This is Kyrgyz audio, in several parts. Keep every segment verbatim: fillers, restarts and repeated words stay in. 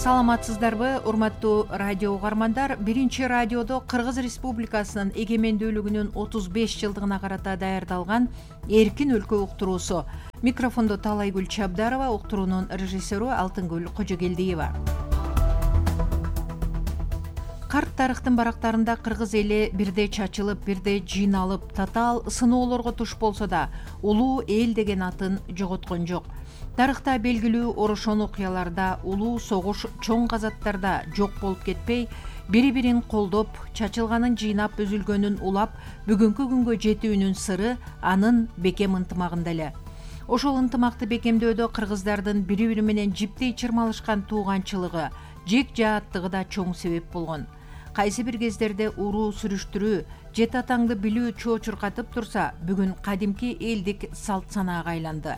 Саламатсыздарбы, урматтуу радио угармандар. Биринчи радиодо Кыргыз Республикасынын эгемендүүлүгүнүн отуз беш жылдыгына карата даярдалган Эркин өлкө уктуруусу. Микрофондо Талайгүл Чабдарова, уктуруунун режиссеру Алтынгүл Кожогелдиева. Карт тарыхтын барактарында кыргыз эли бирде чачылып, бирде жыйналып, татаал сыноолорго туш болсо да, улуу эл деген атын жоготкон жок. Тарыхта белгилүү орошон окуяларда, улуу согуш чоң казаттарда жок болуп кетпей, бири-бирин колдоп, чачылганын жыйнап, үзүлгөнүн улап, бүгүнкү күнгө жетүүнүн сыры анын бекем ынтымагында эле. Ошол ынтымакты бекемдөөдө кыргыздардын бири-бири менен жиптей чырмалышкан тууганчылыгы, жек жааттыгы да чоң себеп болгон. Кайсы бир кездерде уруу сүрүштүрүү, жет атаңды билүү чоо чуркатып турса, бүгүн кадимки элдик салт санаага айланды.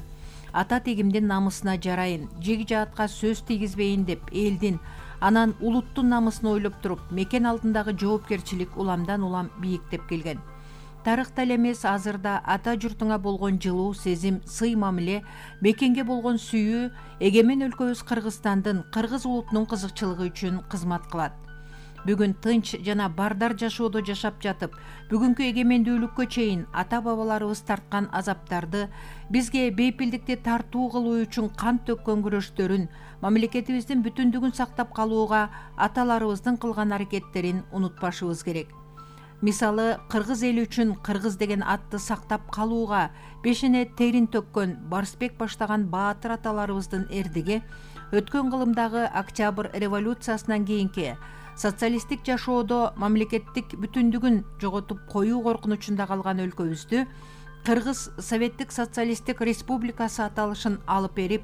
Ата тегимдин намысына жарайын, жеги жаатка сөз тийгизбейин деп элдин, анан улуттун намысын ойлоп туруп, мекен алдындагы жоопкерчилик уламдан улам бийиктеп келген. Тарыхта эле эмес, азырда ата журтуңа болгон жылуу сезим, сый мамиле, мекенге болгон сүйүү эгемен өлкөбүз Кыргызстандын, кыргыз улутунун кызыкчылыгы үчүн кызмат кылат. Бүгүн тынч жана бардар жашоодо жашап жатып, бүгүнкү эгемендүүлүккө чейин ата-бабаларыбыз тарткан азаптарды, бизге бейпилдикти тартуу кылуу үчүн кан төккөн күрөштөрүн, мамлекетибиздин бүтүндүгүн сактап калууга аталарыбыздын кылган аракеттерин унутпашыбыз керек. Мисалы, кыргыз эли үчүн кыргыз деген атты сактап калууга бешине терин төккөн Барсбек баштаган баатыр аталарыбыздын эрдиги өткөн кылымдагы Октябрь революциясынан кийинки социалисттик жашоодо мамлекеттик бүтүндүгүн жоготуп коюу коркунучунда калган өлкөбүздү Кыргыз Советтик Социалисттик Республикасы аталышын алып берип,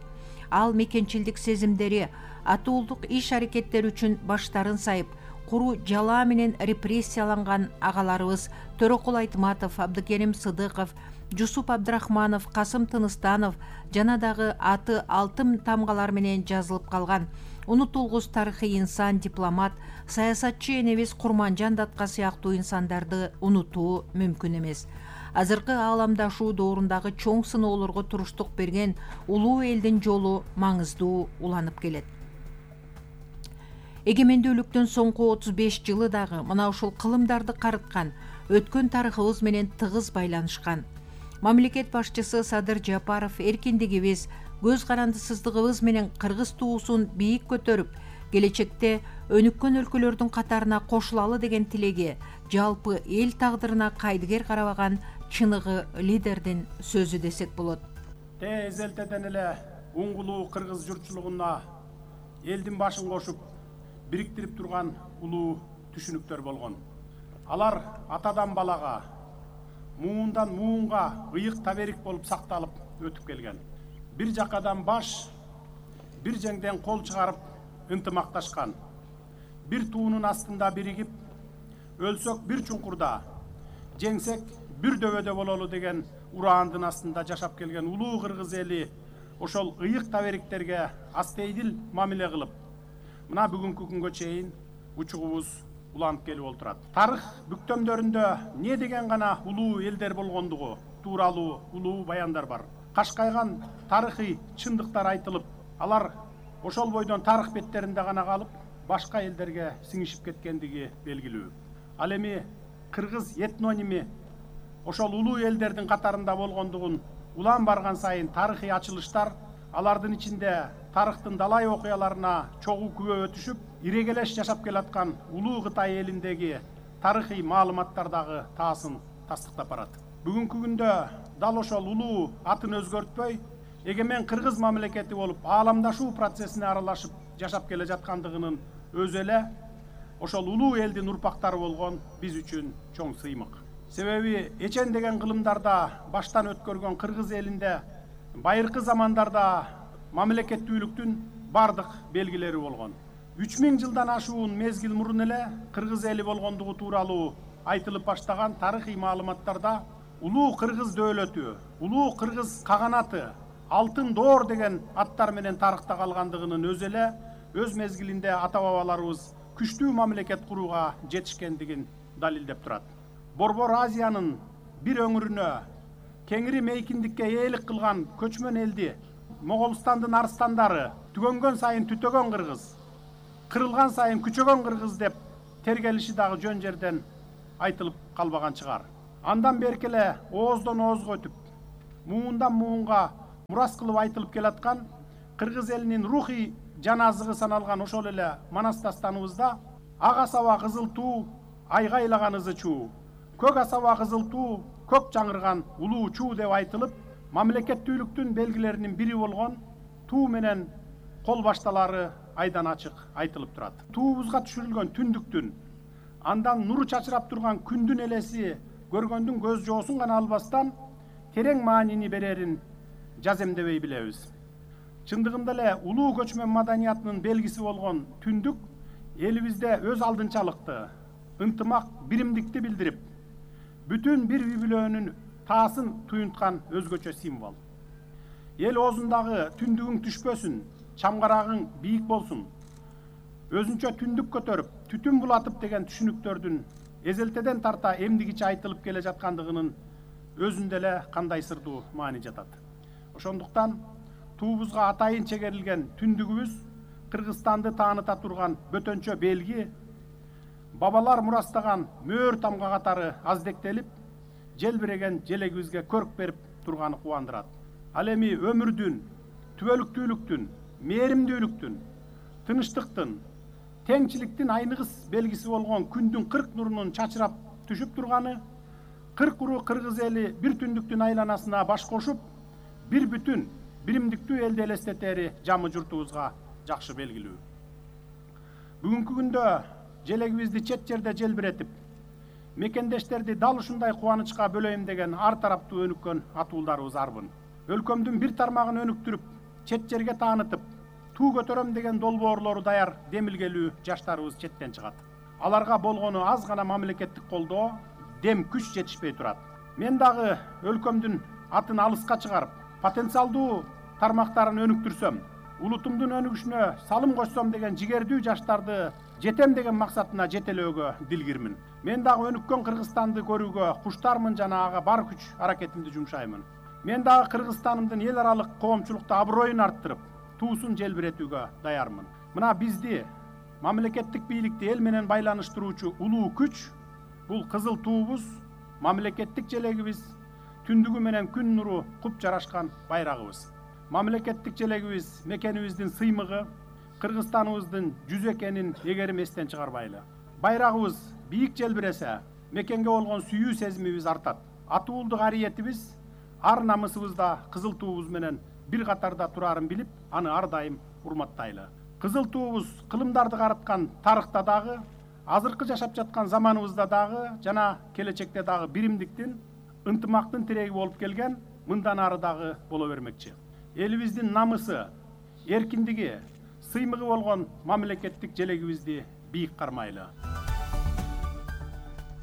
ал мекенчилдик сезимдери, атуулдук иш-аракеттери үчүн баштарын сайып, куру жалаа менен репрессияланган агаларыбыз Төрөкул Айтматов, Абдыкерим Сыдыков, Жусуп Абдрахманов, Касым Тыныстанов жана дагы аты алтын тамгалар менен жазылып калган унутулгус тарыхый инсан, дипломат, саясатчы энебиз Курманжан Датка сыяктуу инсандарды унутуу мүмкүн эмес. Азыркы ааламдашуу доорундагы чоң сыноолорго туруштук берген улуу элдин жолу маңыздуу уланып келет. Эгемендүүлүктүн соңку отуз беш жылы дагы мына ушул кылымдарды карыткан, өткөн тарыхыбыз менен тыгыз байланышкан. Мамлекет башчысы Садыр Жапаров эркиндигибиз, көз карандысыздыгыбыз менен кыргыз туусун бийик көтөрүп, келечекте өнүккөн өлкөлөрдүн катарына кошулалы деген тилеги, жалпы эл тагдырына кайдыгер карабаган чыныгы лидердин сөзү десек болот. Те эзелтеден эле уңгулуу кыргыз журтчулугуна элдин башын кошуп, бириктирип турган улуу түшүнүктөр болгон. Алар атадан балага, муундан муунга ыйык таберик болуп сакталып өтүп келген. Бир жакадан баш, бир жеңден кол чыгарып ынтымакташкан. Бир туунун астында биригип, өлсөк бир чуңкурда, жеңсек бир дөбөдө бололу деген ураандын астында жашап келген улуу кыргыз эли ошол ыйык табериктерге астейдил мамиле кылып, мына бүгүнкү күнгө чейин учугубуз уланып келип отурат. Тарых бүктөмдөрүндө не деген гана улуу элдер болгондугу тууралуу улуу баяндар бар. Кашкайган тарыхый чындыктар айтылып, алар ошол бойдон тарых беттеринде гана калып, башка элдерге сиңишип кеткендиги белгилүү. Ал эми кыргыз этноними ошол улуу элдердин катарында болгондугун улам барган сайын тарыхый ачылыштар, алардын ичинде тарыхтын далай окуяларына чогуу күбө өтүшүп, ирегелеш жашап келаткан улуу Кытай элиндеги тарыхый маалыматтар дагы таасын тастыктап барат. Бүгүнкү күндө дал ошол улуу атын өзгөртпөй, эгемен кыргыз мамлекети болуп, ааламдашуу процессине аралашып жашап келе жаткандыгынын өзү эле ошол улуу элдин урпактары болгон биз үчүн чоң сыймык. Себеби эчен деген кылымдарда баштан өткөргөн кыргыз элинде байыркы замандарда мамлекеттүүлүктүн бардык белгилери болгон. үч миң жылдан ашуун мезгил мурун эле кыргыз эли болгондугу тууралуу айтылып баштаган тарыхый маалыматтарда улуу кыргыз дөөлөтү, улуу кыргыз каганаты, алтын доор деген аттар менен тарыхта калгандыгынын өзү эле өз мезгилинде ата-бабаларыбыз күчтүү мамлекет курууга жетишкендигин далилдеп турат. Борбор Азиянын бир өңүрүнө кеңири мейкиндикке ээлик кылган көчмөн элди Моголстандын арстандары түгөнгөн сайын түтөгөн кыргыз, кырылган сайын күчөгөн кыргыз деп тергелиши дагы жөн жерден айтылып калбаган чыгар. Андан берки эле ооздон оозго өтүп, муундан муунга мурас кылып айтылып келаткан кыргыз элинин рухий жана азыгы саналган ошол эле Манас дастаныбызда ак асаба кызыл туу, айгайлаган ызы чуу, көк асаба кызыл туу, көк жаңырган улуу чуу деп айтылып, мамлекеттүүлүктүн белгилеринин бири болгон туу менен кол башталары айдан ачык айтылып турат. Туубузга түшүрүлгөн түндүктүн, андан нуру чачырап турган күндүн элеси көргөндүн көз жоосун гана албастан терең маанини берерин жаземдебей билебиз. Чындыгында эле улуу көчмөн маданиятынын белгиси болгон түндүк элибизде өз алдынчалыкты, ынтымак, биримдикти билдирип, бүтүн бир үй бүлөнүн таасын туюнткан өзгөчө символ. Эл оозундагы түндүгүң түшпөсүн, чамгарагың бийик болсун, өзүнчө түндүк көтөрүп, түтүн булатып деген түшүнүктөрдүн эзелтеден тарта эмдигиче айтылып келе жаткандыгынын өзүндө эле кандай сырдуу маани жатат. Ошондуктан туубузга атайын чегерилген түндүгүбүз Кыргызстанды тааныта турган бөтөнчө белги, бабалар мурастаган мөөр тамга катары аздектелип, желбиреген желегибизге көрк берип турганы кубандырат. Ал эми өмүрдүн, түбөлүктүүлүктүн, мээримдүүлүктүн, тынычтыктын, теңчиликтин айныгыс белгиси болгон күндүн кырк нурунун чачырап түшүп турганы, кырк уру кыргыз эли бир түндүктүн айланасына баш кошуп, бир бүтүн, биримдиктүү элди элестетери жамы журтубузга жакшы белгилүү. Бүгүнкү күндө желегибизди чет жерде желбиретип, мекендештерди дал ушундай кубанычка бөлөйм деген ар тараптуу өнүккөн атуулдарыбыз арбын. Өлкөмдүн бир тармагын өнүктүрүп, чет жерге таанытып, туу көтөрөм деген долбоорлору даяр демилгелүү жаштарыбыз четтен чыгат. Аларга болгону аз гана мамлекеттик колдоо, дем күч жетишпей турат. Мен дагы өлкөмдүн атын алыска чыгарып, потенциалдуу тармактарын өнүктүрсөм, улутумдун өнүгүшүнө салым кошсом деген жигердүү жаштарды жетем деген максатына жетелөөгө дилгирмин. Мен дагы өнүккөн Кыргызстанды көрүүгө куштармын жана ага бар күч аракетимди жумшаймын. Мен дагы Кыргызстанымдын эл аралык коомчулукта аброюн арттырып, туусун желбиретүүгө даярмын. Мына бизди, мамлекеттик бийликти эл менен байланыштыруучу улуу күч бул кызыл туубуз, мамлекеттик желегибиз, түндүгү менен күн нуру куп жарашкан байрагыбыз. Мамлекеттик желегибиз мекенибиздин сыймыгы, Кыргызстаныбыздын жүзү экенин эгерим эстен чыгарбайлы. Байрагыбыз бийик желбиресе, мекенге болгон сүйүү сезимибиз артат. Атуулдук ариетибиз, ар намысыбызда кызыл туубуз менен бир катарда турарын билип, аны ар дайым урматтайлы. Кызыл туубуз кылымдарды карыткан тарыхта дагы, азыркы жашап жаткан заманыбызда дагы жана келечекте дагы биримдиктин, ынтымактын тиреги болуп келген, мындан ары дагы боло бермекчи. Элибиздин намысы, эркиндиги, сыймыгы болгон мамлекеттик желегибизди бийик кармайлы.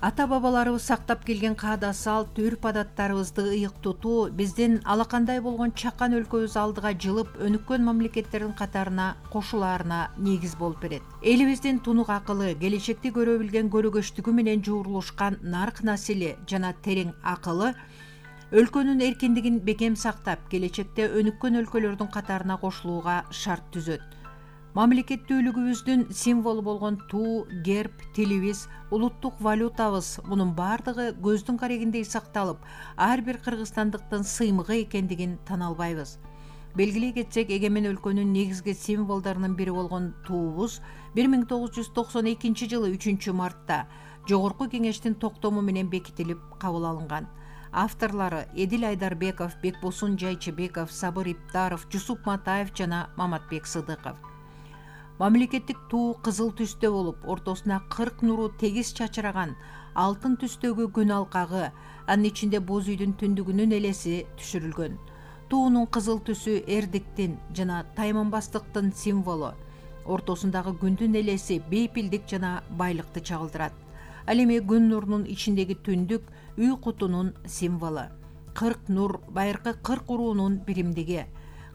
Ата бабаларыбыз сактап келген каада салт, үрп адаттарыбызды ыйык тутуу биздин алакандай болгон чакан өлкөбүз алдыга жылып өнүккөн мамлекеттердин катарына кошулаарына негиз болуп берет. Элибиздин тунук акылы, келечекти көрө билген көрөгөчтүгү менен жуурулушкан нарк насили жана терең акылы өлкөнүн эркиндигин бекем сактап, келечекте өнүккөн өлкөлөрдүн катарына кошулууга шарт түзөт. Мамлекеттүүлүгүбүздүн символу болгон туу, герб, тилибиз, улуттук валютабыз мунун бардыгы көздүн карегиндей сакталып, ар бир кыргызстандыктын сыймыгы экендигин тана албайбыз. Белгилей кетсек, эгемен өлкөнүн негизги символдорунун бири болгон туубуз бир миң тогуз жүз токсон экинчи жылы үчүнчү мартта Жогорку кеңештин токтому менен бекитилип кабыл алынган. Авторлору Эдил Айдарбеков, Бекбосун Жайчыбеков, Сабыр Иптаров, Жусуп Матаев жана Маматбек Сыдыков. Мамлекеттик туу кызыл түстө болуп, ортосуна кырк нуру тегиз чачыраган, алтын түстөгү күн алкагы, анын ичинде боз үйдүн түндүгүнүн элеси түшүрүлгөн. Туунун кызыл түсү эрдиктин жана тайманбастыктын символу. Ортосундагы күндүн элеси бейпилдик жана байлыкты чагылдырат. Ал эми күн нурунун ичиндеги түндүк үй кутунун символу. кырк нур байыркы кырк уруунун биримдиги.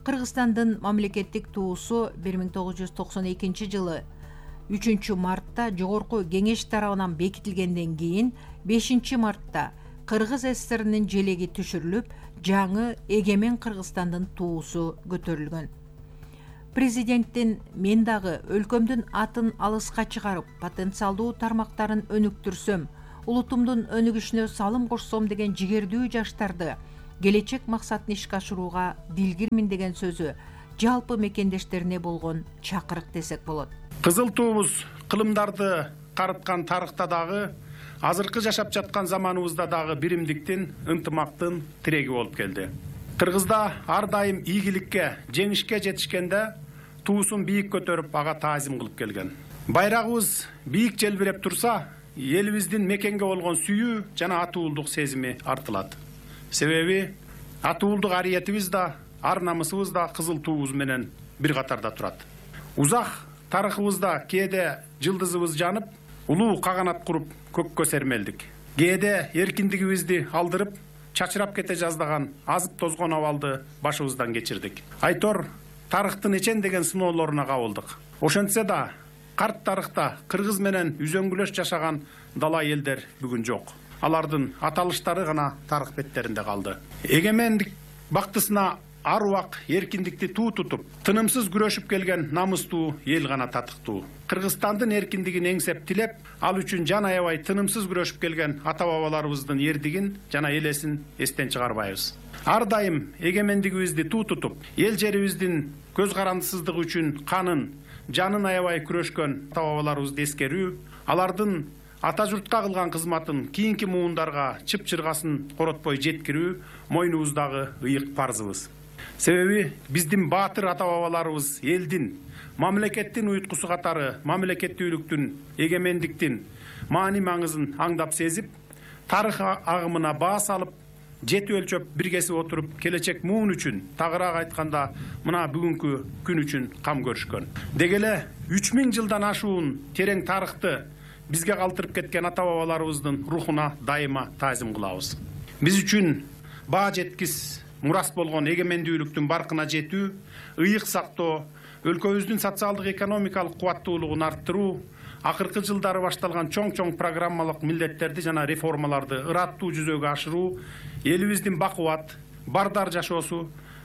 Кыргызстандын мамлекеттик туусу бир миң тогуз жүз токсон экинчи жылы үчүнчү мартта Жогорку кеңеш тарабынан бекитилгенден кийин бешинчи мартта Кыргыз ССРинин желеги түшүрүлүп, жаңы эгемен Кыргызстандын туусу көтөрүлгөн. Президенттин мен дагы өлкөмдүн атын алыска чыгарып, потенциалдуу тармактарын өнүктүрсөм, улутумдун өнүгүшүнө салым кошсом деген жигердүү жаштарды келечек максатын ишке ашырууга дилгирмин деген сөзү жалпы мекендештерине болгон чакырык десек болот. Кызыл туубуз кылымдарды карыткан тарыхта дагы, азыркы жашап жаткан заманыбызда дагы биримдиктин, ынтымактын тиреги болуп келди. Кыргызда ар дайым ийгиликке, жеңишке жетишкенде туусун бийик көтөрүп, ага таазим кылып келген. Байрагыбыз бийик желбиреп турса, элибиздин мекенге болгон сүйүү жана атуулдук сезими артылат. Себеби атуулдук ариетибиз да, ар намысыбыз да кызыл туубуз менен бир катарда турат. Узак тарыхыбызда кээде жылдызыбыз жанып, улуу каганат куруп көккө сермелдик. Кээде эркиндигибизди алдырып, чачырап кете жаздаган азып тозгон абалды башыбыздан кечирдик. Айтор тарыхтын эчендеген сыноолоруна кабылдык. Ошентсе да карт тарыхта кыргыз менен үзөңгүлөш жашаган дала элдер бүгүн жок. Алардын аталыштары гана тарых беттеринде калды. Эгемендик бактысына ар убак эркиндикти туу тутуп, тынымсыз күрөшүп келген намыстуу эл гана татыктуу. Кыргызстандын эркиндигин эңсеп тилеп, ал үчүн жан аябай тынымсыз күрөшүп келген ата-бабаларыбыздын эрдигин жана элесин эстен чыгарбайбыз. Ар дайым эгемендигибизди туу тутуп, эл жерибиздин көз карандысыздыгы үчүн канын, жанын аябай күрөшкөн ата-бабаларыбызды эскерүү, алардын ата журтка кылган кызматын кийинки муундарга чып-чыргасын коротпой жеткирүү мойнубуздагы ыйык парзыбыз. Себеби биздин баатыр ата-бабаларыбыз элдин, мамлекеттин уюткусу катары мамлекеттүүлүктүн, эгемендиктин маани маңызын аңдап сезип, тарых агымына баа салып, жети өлчөп бир кесип отуруп, келечек муун үчүн, тагыраак айтканда, мына бүгүнкү күн үчүн кам көрүшкөн. Деги эле үч миң жылдан ашуун терең тарыхты бизге калтырып кеткен ата-бабаларыбыздын рухуна дайыма таазим кылабыз. Биз үчүн баа жеткис мурас болгон эгемендүүлүктүн баркына жетүү, ыйык сактоо, өлкөбүздүн социалдык экономикалык кубаттуулугун арттыруу, акыркы жылдары башталган чоң-чоң программалык милдеттерди жана реформаларды ыраттуу жүзөгө ашыруу, элибиздин бакубат, бардар жашоосу,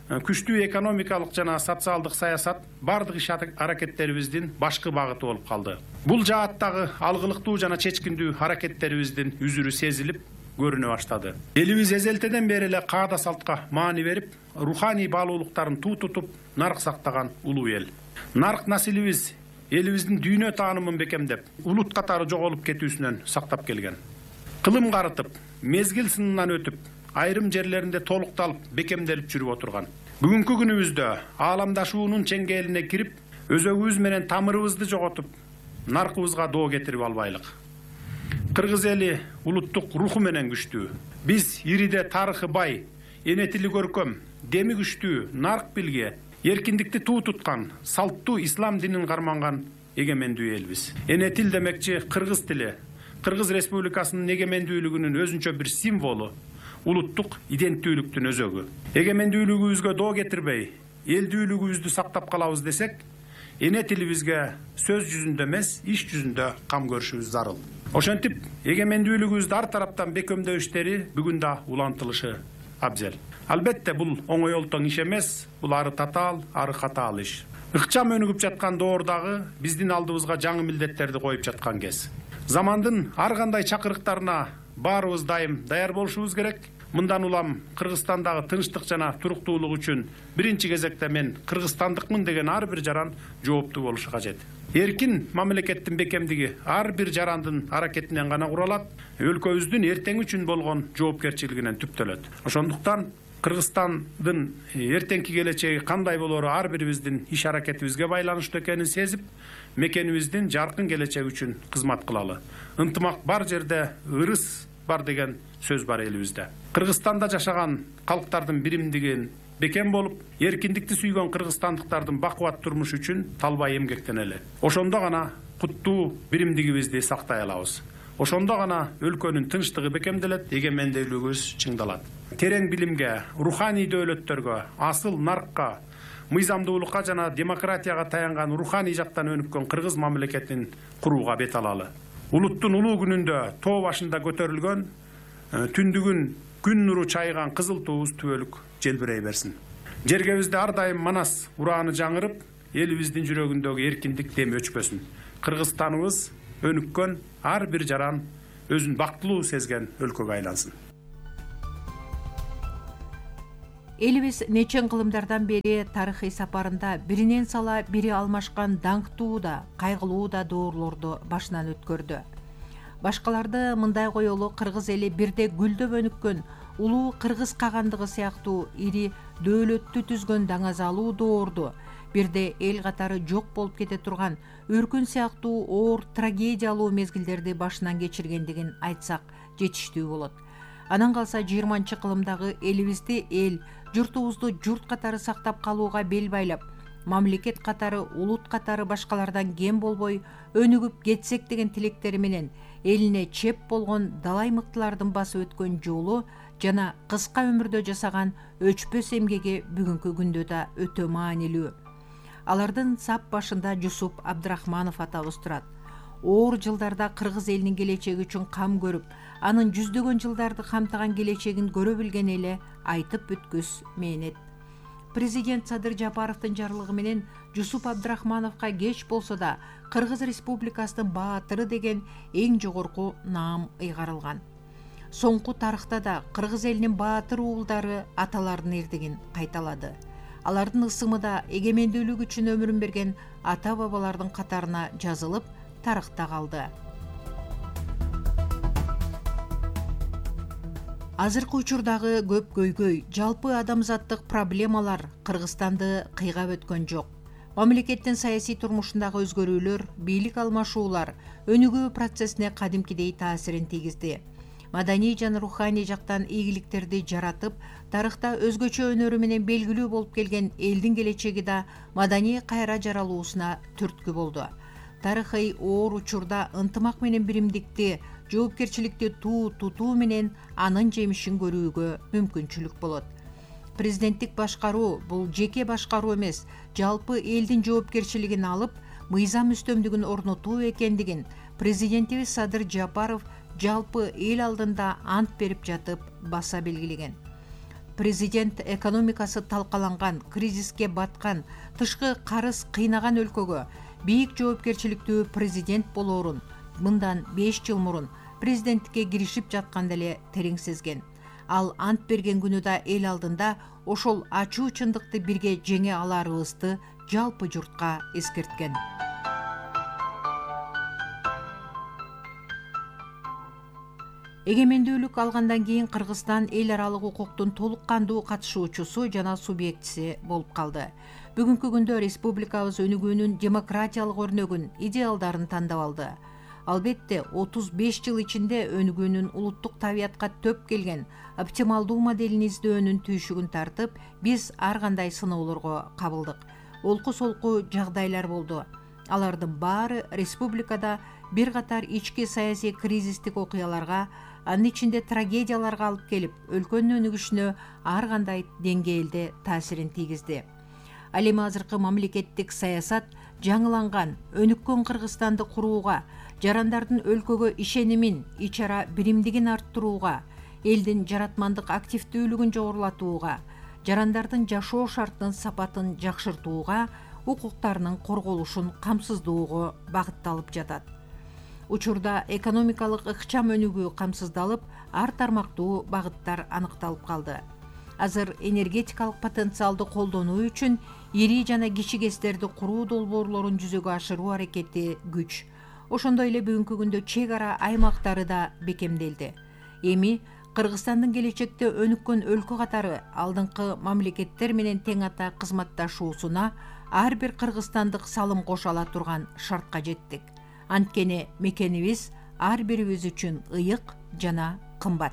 күчтүү экономикалык жана социалдык саясат бардык иш аракеттерибиздин башкы багыты болуп калды. Бул жааттагы алгылыктуу жана чечкиндүү аракеттерибиздин үзүрү сезилип көрүнө баштады. Элибиз эзелтеден бери эле каада салтка маани берип, руханий баалуулуктарын туу тутуп, нарк сактаган улуу эл. Нарк насилибиз элибиздин дүйнө таанымын бекемдеп, улут катары жоголуп кетүүсүнөн сактап келген. Кылым карытып, мезгил сынынан өтүп, айрым жерлеринде толукталып, бекемделип жүрүп отурган. Бүгүнкү күнүбүздө ааламдашуунун чеңгээлине кирип, өзөгүбүз менен тамырыбызды жоготуп, наркыбызга доо кетирип албайлык. Кыргыз эли улуттук руху менен күчтүү. Биз ириде тарыхы бай, энетили көркөм, деми күчтүү, нарк билге, эркиндикти туу туткан, салттуу ислам динин карманган эгемендүү элбиз. Энетил демекчи кыргыз тили, Кыргыз Республикасынын эгемендүүлүгүнүн өзүнчө бир символу, улуттук иденттүүлүктүн өзөгү. Эгемендүүлүгүбүзгө доо кетирбей, элдүүлүгүбүздү сактап калабыз десек, эне тилибизге сөз жүзүндө эмес, иш жүзүндө кам көрүшүбүз зарыл. Ошентип, эгемендүүлүгүбүздү ар тараптан бекемдөө иштери бүгүн да улантылышы абзел. Албетте, бул оңой олтоң иш эмес, бул ары татаал, ары катаал иш. Ыкчам өнүгүп жаткан доордагы биздин алдыбызга жаңы милдеттерди коюп жаткан кез. Замандын ар кандай чакырыктарына баарыбыз дайым даяр болушубуз керек. Мындан улам Кыргызстандагы тынчтык жана туруктуулук үчүн биринчи кезекте мен кыргызстандыкмын деген ар бир жаран жооптуу болушу кажет. Эркин мамлекеттин бекемдиги ар бир жарандын аракетинен гана куралат, өлкөбүздүн эртең үчүн болгон жоопкерчилигинен түптөлөт. Ошондуктан Кыргызстандын эртеңки келечеги кандай болору ар бирибиздин иш аракетибизге байланыштуу экенин сезип, мекенибиздин жаркын келечеги үчүн кызмат кылалы. Ынтымак бар жерде ырыс бар деген сөз бар элибизде. Кыргызстанда жашаган калктардын биримдигин бекем болуп, эркиндикти сүйгөн кыргызстандыктардын бакубат турмушу үчүн талбай эмгектенели. Ошондо гана куттуу биримдигибизди сактай алабыз. Ошондо гана өлкөнүн тынчтыгы бекемделет, эгемендүүлүгүбүз чыңдалат. Терең билимге, руханий дөөлөттөргө, асыл наркка, мыйзамдуулукка жана демократияга таянган руханий жактан өнүккөн кыргыз мамлекетин курууга бет алалы. Улуттун улуу күнүндө тоо башында көтөрүлгөн, түндүгүн күн нуру чайган кызыл туубуз түбөлүк желбирей берсин. Жергебизде ар дайым манас урааны жаңырып, элибиздин жүрөгүндөгү эркиндик деми өчпөсүн. Кыргызстаныбыз өнүккөн, ар бир жаран өзүн бактылуу сезген өлкөгө айлансын. Элибиз нечен кылымдардан бери тарыхый сапарында биринен сала бири алмашкан даңктуу да, кайгылуу да доорлорду башынан өткөрдү. Башкаларды мындай коелу кыргыз эли бирде гүлдөп өнүккөн, улуу кыргыз кагандыгы сыяктуу ири дөөлөттү түзгөн даңазалуу доорду, бирде эл катары жок болуп кете турган өркүн сыяктуу оор трагедиялуу мезгилдерди башынан кечиргендигин айтсак жетиштүү болот. Анан калса жыйырманчы кылымдагы элибизди эл, журтубузду журт катары сактап калууга бел байлап, мамлекет катары, улут катары башкалардан кем болбой өнүгүп кетсек деген тилектери менен элине чеп болгон далай мыктылардын басып өткөн жолу жана кыска өмүрдө жасаган өчпөс эмгеги бүгүнкү күндө да өтө маанилүү. Алардын сап башында Жусуп Абдрахманов атабыз турат. Оор жылдарда кыргыз элинин келечеги үчүн кам көрүп, анын жүздөгөн жылдарды камтыган келечегин көрө билген эле айтып бүткүс мээнет. Президент Садыр Жапаровдун жарлыгы менен Жусуп Абдрахмановго кеч болсо да Кыргыз Республикасынын баатыры деген эң жогорку наам ыйгарылган. Соңку тарыхта да кыргыз элинин баатыр уулдары аталардын эрдигин кайталады. Алардын ысымы да эгемендүүлүк үчүн өмүрүн берген ата бабалардын катарына жазылып, тарыхта калды. Азыркы учурдагы көп көйгөй, жалпы адамзаттык проблемалар Кыргызстанды кыйгап өткөн жок. Мамлекеттин саясий турмушундагы өзгөрүүлөр, бийлик алмашуулар өнүгүү процессине кадимкидей таасирин тийгизди. Маданий жана руханий жактан ийгиликтерди жаратып, тарыхта өзгөчө өнөрү менен белгилүү болуп келген элдин келечеги да маданий кайра жаралуусуна түрткү болду. Тарыхый оор учурда ынтымак менен биримдикти, жоопкерчиликти туу тутуу менен анын жемишин көрүүгө мүмкүнчүлүк болот. Президенттик башкаруу бул жеке башкаруу эмес, жалпы элдин жоопкерчилигин алып, мыйзам үстөмдүгүн орнотуу экендигин президентибиз Садыр Жапаров жалпы эл алдында ант берип жатып баса белгилеген. Президент экономикасы талкаланган, кризиске баткан, тышкы карыз кыйнаган өлкөгө бийик жоопкерчиликтүү президент болоорун мындан беш жыл мурун президенттикке киришип жатканда эле терең сезген. Ал ант берген күнү да эл алдында ошол ачуу чындыкты бирге жеңе аларыбызды жалпы журтка эскерткен. Эгемендүүлүк алгандан кийин Кыргызстан эл аралык укуктун толук кандуу катышуучусу жана субъектиси болуп калды. Бүгүнкү күндө республикабыз өнүгүүнүн демократиялык өрнөгүн, идеалдарын тандап алды. Албетте, отуз беш жыл ичинде өнүгүүнүн улуттук табиятка төп келген оптималдуу моделин издөөнүн түйшүгүн тартып, биз ар кандай сыноолорго кабылдык. Олку-солку жагдайлар болду. Алардын баары республикада бир катар ички саясий кризистик окуяларга, анын ичинде трагедияларга алып келип, өлкөнүн өнүгүшүнө ар кандай деңгээлде таасирин тийгизди. Ал эми азыркы мамлекеттик саясат жаңыланган, өнүккөн Кыргызстанды курууга, жарандардын өлкөгө ишенимин, ич ара биримдигин арттырууга, элдин жаратмандык активдүүлүгүн жогорулатууга, жарандардын жашоо шартынын сапатын жакшыртууга, укуктарынын корголушун камсыздоого багытталып жатат. Учурда экономикалык ыкчам өнүгүү камсыздалып, ар тармактуу багыттар аныкталып калды. Азыр энергетикалык потенциалды колдонуу үчүн ири жана кичи КЭСтерди куруу долбоорлорун жүзөгө ашыруу аракети күч. Ошондой эле бүгүнкү күндө чек ара аймактары да бекемделди. Эми Кыргызстандын келечекте өнүккөн өлкө катары алдыңкы мамлекеттер менен тең ата кызматташуусуна ар бир кыргызстандык салым кошо ала турган шартка жеттик. Анткени мекенибиз ар бирибиз үчүн ыйык жана кымбат.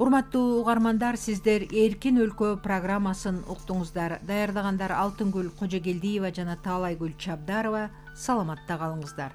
Урматтуу угармандар, сиздер Эркин өлкө программасын уктуңуздар. Даярдагандар Алтынгүл Кожогелдиева жана Таалайгүл Чабдарова. Саламатта калыңыздар.